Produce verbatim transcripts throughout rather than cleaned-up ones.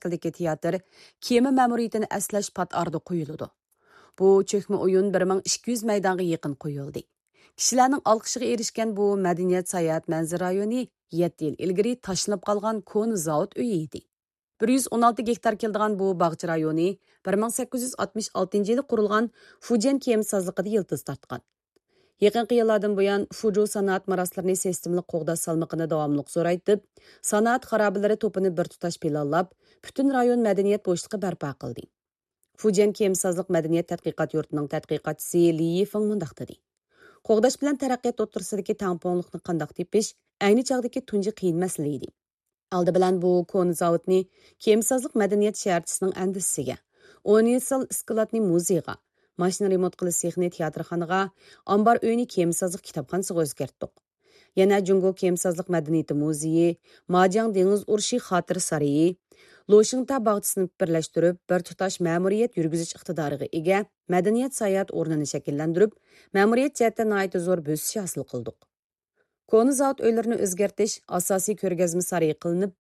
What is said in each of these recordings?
شەكلىدىكى تىياتىر كېمە مەمۇرىيىتىنى ئەسلەش پات ئارىدا قويۇلىدۇ. بۇ چۆكمە ئويۇن بىر مىڭ ئىككى يۈز مەيدانغا يېقىن قويۇلدى. كىشىلەرنىڭ ئالقىشىغا ئېرىشكەن بۇ مەدەنىيەت ساياھەت مەنزىرە رايونى يەتتە يىل ئىلگىرى تاشلىنىپ قالغان كونا زاۋۇت ئۆيى ئىدى. بىر يۈز ئون ئالتە گېكتار كېلىدىغان بۇ باغچە رايونى بىر مىڭ سەككىز يۈز ئاتمىش ئالتىنچى يىلى قۇرۇلغان فۇجيەن كېمە سازلىقىدا يىلتىز تارتقان. يېقىنقى يىللاردىن بۇيان، فۇجۇ سانائەت مىراسلىرىنى سىستېمىلىق قوغداش سالمىقىنى داۋاملىق زورايتىپ، سانائەت خارابىلىرى توپىنى بىر تۇتاش پىلانلاپ، پۈتۈن رايون مەدەنىيەت بوشلۇقى بەرپا قىلدى. فۇجيەن كېمە سازلىق مەدەنىيەت تەتقىقات يۇرتىنىڭ تەتقىقاتچىسى لى يىفېڭ مۇنداق دېدى: قوغداش بىلەن تەرەققىيات ئوتتۇرىسىدىكى تەڭپۇڭلۇقنى قانداق تېپىش ئەينى چاغدىكى تۇنجى قىيىن مەسىلە ئىدى. ئالدى بىلەن بۇ كونا زاۋۇتنى كېمىسازلىق مەدەنىيەت شەھەرچىسىنىڭ ئەندىزىسىگە، ئۇنىۋېرسال ئىسكىلاتنى مۇزېيغا، ماشىنا رېمونت قىلىش سېخىنى تىياتىرخانىغا، ئامبار ئۆينى كېمىسازلىق كىتابخانىسىغا ئۆزگەرتتۇق. يەنە جۇڭگو كېمىسازلىق مەدەنىيىتى مۇزېيى، ماجياڭ دېڭىز ئۇرۇشى خاتىرە سارىيى، لوشىڭتا باغچىسىنى بىرلەشتۈرۈپ، بىر تۇتاش مەمۇرىيەت يۈرگۈزۈش ئىقتىدارىغا ئىگە مەدەنىيەت ساياھەت ئورنىنى شەكىللەندۈرۈپ، مەمۇرىيەت جەھەتتە ناھايىتى زور بۆسۈش ھاسىل قىلدۇق. كونا زاۋۇت ئۆيلىرىنى ئۆزگەرتىش ئاساسىي كۆرگەزمە سارىيى قىلىنىپ،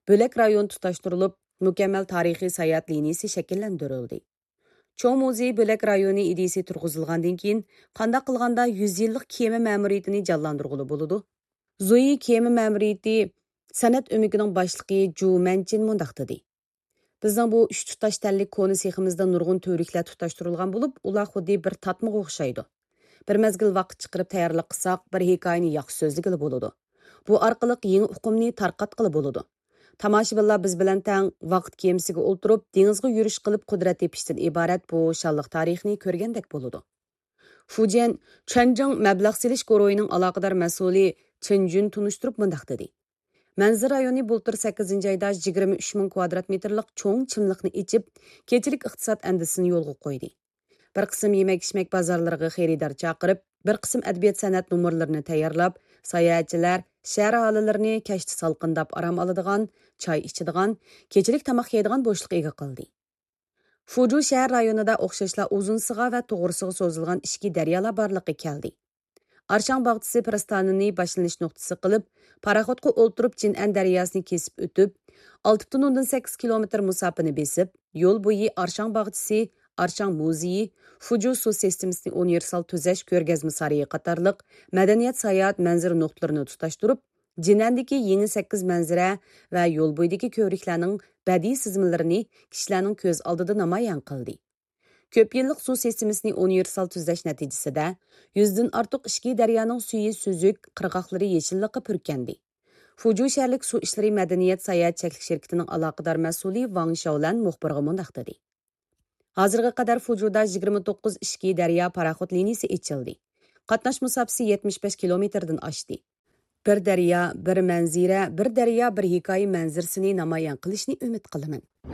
بۆلەك رايون تۇتاشتۇرۇلۇپ، مۇكەممەل تارىخىي ساياھەت لىنىيىسى شەكىللەندۈرۈلدى. چوڭ مۇزېي بۆلەك رايونى ئىدىيىسى تۇرغۇزۇلغاندىن كېيىن، قانداق قىلغاندا يۈز يىللىق كېمە مەمۇرىيىتىنى جانلاندۇرغىلى بولىدۇ؟ زۇيى كېمە مەمۇرىيىتى سەنئەت ئۆمىكىنىڭ باشلىقى جۇ مەنچىن مۇنداق دېدى: بىزنىڭ بۇ ئۈچ تۇتاش تەنلىك كونا سېخىمىزدا نۇرغۇن تۈۋرۈكلەر تۇتاشتۇرۇلغان بولۇپ، ئۇلار خۇددى بىر تارتمىغا ئوخشايدۇ. بىر مەزگىل ۋاقىت چىقىرىپ تەييارلىق قىلساق، بىر ھېكايىنى ياخشى سۆزلىگىلى بولىدۇ. بۇ ئارقىلىق يېڭى ئۇقۇمنى تارقاتقىلى بولىدۇ. تاماشىبىنلار بىز بىلەن تەڭ ۋاقىت كېمىسىگە ئولتۇرۇپ، دېڭىزغا يۈرۈش قىلىپ قۇدرەت تېپىشتىن ئىبارەت بۇ شانلىق تارىخنى كۆرگەندەك بولىدۇ. فۇجيەن چۈەنجىڭ مەبلەغ سېلىش گۇرۇھىنىڭ ئالاقىدار مەسئۇلى چېن جۈن تونۇشتۇرۇپ مۇنداق دېدى: مەنزىرە رايونى بۇلتۇر سەككىزىنچى ئايدا يىگىرمە ئۈچ مىڭ كۋادرات مېتىرلىق چوڭ چىملىقنى ئېچىپ، كېچىلىك ئىقتىساد ئەندىزىسىنى يولغا قويدى. بىر قىسىم يېمەك-ئىچمەك بازارلىرىغا خېرىدار چاقىرىپ، بىر قىسىم ئەدەبىيات-سەنئەت نومۇرلىرىنى تەييارلاپ، ساياھەتچىلەر، شەھەر ئاھالىلىرىنى كەچتە سالقىنداپ ئارام ئالىدىغان، چاي ئىچىدىغان، كېچىلىك تاماق يەيدىغان بوشلۇققا ئىگە قىلدى. فۇجۇ شەھەر رايونىدا ئوخشاشلا ئۇزۇنسىغا ۋە توغرىسىغا سوزۇلغان ئىچكى دەريالار بارلىققا كەلدى. ئارشاڭ باغچىسى پىرىستانىنى باشلىنىش نۇقتىسى قىلىپ، پاراخوتقا ئولتۇرۇپ جىنئەن دەرياسىنى كېسىپ ئۆتۈپ، ئالتە پۈتۈن ئوندىن سەككىز كىلومېتىر مۇساپىنى بېسىپ، يول بويى ئارشاڭ باغچىسى، ئارشاڭ مۇزېيى، فۇجۇ سۇ سىستېمىسىنى ئۇنىۋېرسال تۈزەش كۆرگەزمە سارىيى قاتارلىق مەدەنىيەت ساياھەت مەنزىرە نۇقتىلىرىنى تۇتاشتۇرۇپ، جىنئەندىكى يېڭى سەككىز مەنزىرە ۋە يول بويىدىكى كۆۋرۈكلەرنىڭ بەدىئىي سىزمىلىرىنى كىشىلەرنىڭ كۆز ئالدىدا نامايان قىلدى. كۆپ يىللىق سۇ سىستېمىسىنى ئۇنىۋېرسال تۈزەش نەتىجىسىدە، يۈزدىن ئارتۇق ئىچكى دەريانىڭ سۈيى سۈزۈك، قىرغاقلىرى يېشىللىققا پۈركەندى. فۇجۇ شەھەرلىك سۇ ئىشلىرى مەدەنىيەت ساياھەت چەكلىك شىركىتىنىڭ ئالاقىدار مەسئۇلى ۋاڭ شياۋلەن مۇخبىرغا مۇنداق دېدى: ھازىرغا قەدەر فۇجۇدا يىگىرمە توققۇز ئىچكى دەريا پاراخوت لىنىيىسى ئېچىلدى. قاتناش مۇساپىسى يەتمىش بەش كىلومېتىردىن ئاشتى. بىر دەريا، بىر مەنزىرە، بىر دەريا، بىر ھېكايە مەنزىرىسىنى نامايان قىلىشنى ئۈمىد قىلىمەن.